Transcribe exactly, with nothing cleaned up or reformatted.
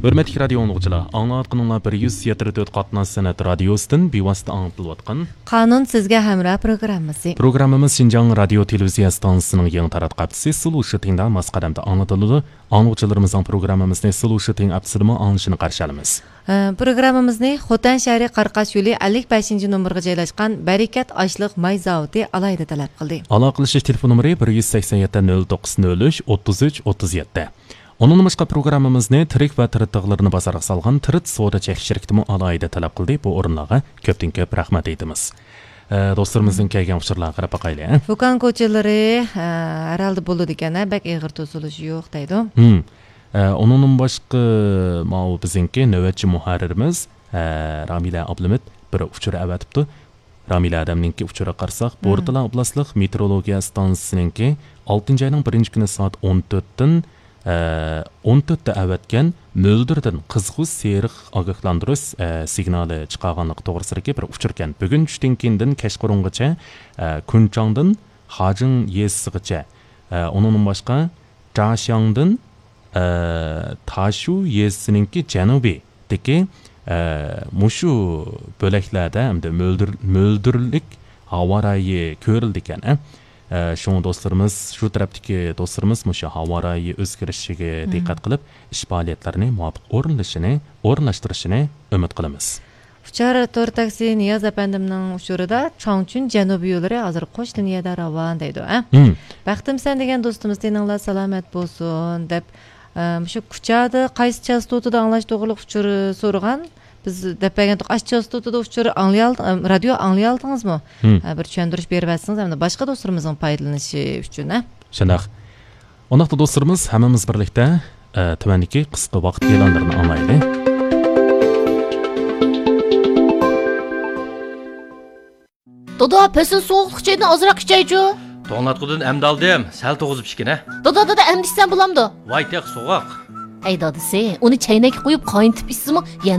ھۆرمەتلىك رادىيو ئاڭلىغۇچىلار، ئاڭلاۋاتقىنىڭلار بىر يۈز يەتتە تۆت قاتناش سەنئەت رادىيوسىدىن بىۋاسىتە ئاڭلىتىلىۋاتقان قانۇن سىزگە ھەمراھ پروگراممىسى. پروگراممىمىز شىنجاڭ رادىيو تېلېۋىزىيە ئىستانسىسىنىڭ يېڭى تاراتقۇ ھەپتىسى سىلۇشىتىڭدا ماس قەدەمدە ئاڭلىتىلىدۇ. ئاڭلىغۇچىلىرىمىزنىڭ پروگراممىمىزنى سىلۇشىتىڭ ھەپتىسىدىمۇ ئاڭلىشىنى قارشى ئالىمىز. ئە، پروگراممىمىزنى خوتەن شەھىرى قاراقاش يولى ئەللىك بەشىنچى نومۇرغا جايلاشقان بەرىكەت ئاشلىق ماي زاۋۇتى ئالاھىدە تەلەپ قىلدى. ئالاقىلىشىش تېلېفون نومۇرى بىر يۈز سەكسەن يەتتە، نۆل توققۇز، نۆل ئۈچ، ئوتتۇز ئۈچ، ئوتتۇز يەتتە. ئۇنىڭدىن باشقا پروگراممىمىزنى تىرىك ۋە تىرىت تىغلىرىنى بازارغا سالغان تىرىت سودا چەكلىك شىركىتىمۇ ئالاھىدە تەلەپ قىلدى. بۇ ئورۇنلارغا كۆپتىن كۆپ رەھمەت ئېيتىمىز. ئە، دوستلىرىمىزدىن كەلگەن ئۇچۇرلارغا قاراپ باقايلى، ھە؟ دۇكان كوچىلىرى، ئە، ھەر ھالدا بولىدىكەن، ھە، بەك ئېغىر توسۇلۇشى يوق دەيدۇ. ھىم. ئە، ئۇنىڭدىن باشقا، ماۋۇ بىزنىڭكى نۆۋەتچى مۇھەررىرىمىز، ئە، رامىلە ئابلىمىت بىر ئۇچۇر ئەۋەتىپتۇ. رامىلە ھەدەمنىڭكى ئۇچۇرىغا قارىساق، مم. بورتالا ئوبلاستلىق مېتېئورولوگىيە ئىستانسىسىنىڭكى ئالتىنچى ئاينىڭ بىرىنچى كۈنى سائەت ئون تۆتتىن، ئە، ئون تۆتتە ئەۋەتكەن مۆلدۈردىن قىزغۇ سېرىق ئاگاھلاندۇرۇش، ئە، سىگنالى چىقارغانلىقى توغرىسىدىكى بىر ئۇچۇركەن. بۈگۈن چۈشتىن كېيىندىن كەچقۇرۇنغىچە، ئە، كۇنچاڭدىن خاجىڭ يېزىسىغىچە، ئە، ئۇنىڭدىن باشقا، جاشياڭدىن، ئە، تاشۇ يېزىسىنىڭكى جەنۇبىدىكى، ئە، مۇشۇ بۆلەكلەردە ھەمدە مۆلدۈر-، مۆلدۈرلۈك ھاۋا رايى كۆرۈلىدىكەن، ئە. ئە، شۇڭا دوستلىرىمىز، شۇ تەرەپتىكى دوستلىرىمىز مۇشۇ ھاۋا رايى ئۆزگىرىشىگە مم. دىققەت قىلىپ، ئىش پائالىيەتلىرىنى مۇۋاپىق ئورۇنلىشىنى، ئورۇنلاشتۇرۇشىنى ئۈمىد قىلىمىز. ئۇچار تور تاكسى نىياز ئەپەندىمنىڭ ئۇچۇرىدا چاڭچۈن جەنۇبىي يوللىرى ھازىر قوش لىنىيەدە راۋان دەيدۇ، ھە؟ مم. بەختىمسەن دېگەن دوستىمىز تېنىڭلار سالامەت بولسۇن دەپ، ئە، مۇشۇ كۇچادا قايسى چاستوتىدا ئاڭلاش توغرىلىق ئۇچۇر سورىغان. بىز دەپ بەرگەنتۇق، ئاشۇ چاستوتىدا ئۇچۇر ئاڭلىيال-، ئەم، رادىيو ئاڭلىيالدىڭىزمۇ؟ ھىم. ھە، بىر چۈشەندۈرۈش بېرىۋەتسىڭىز، ھەمدە باشقا دوستلىرىمىزنىڭ پايدىلىنىشى ئۈچۈن، ھە؟ شۇنداق. ئۇنداقتا دوستلىرىمىز، ھەممىمىز بىرلىكتە، ئە، تۆۋەندىكى قىسقا ۋاقىت ئېلانلىرىنى ئاڭلايلى. دادا، پەسىل سوغۇقلۇق چايدىن ئازراق ئىچەيچۇ. توڭلاتقۇدىن ئەمدى ئالدىم، سەل توغۇزۇپ ئىچكىنە. دادا، دادا، ئەمدى ئىچسەم بولامدۇ؟ ۋاي، تېخى سوغۇق. ھەي دادىسى، ئۇنى چەينەككە قويۇپ قاينىتىپ ئىچسىمۇ يەنە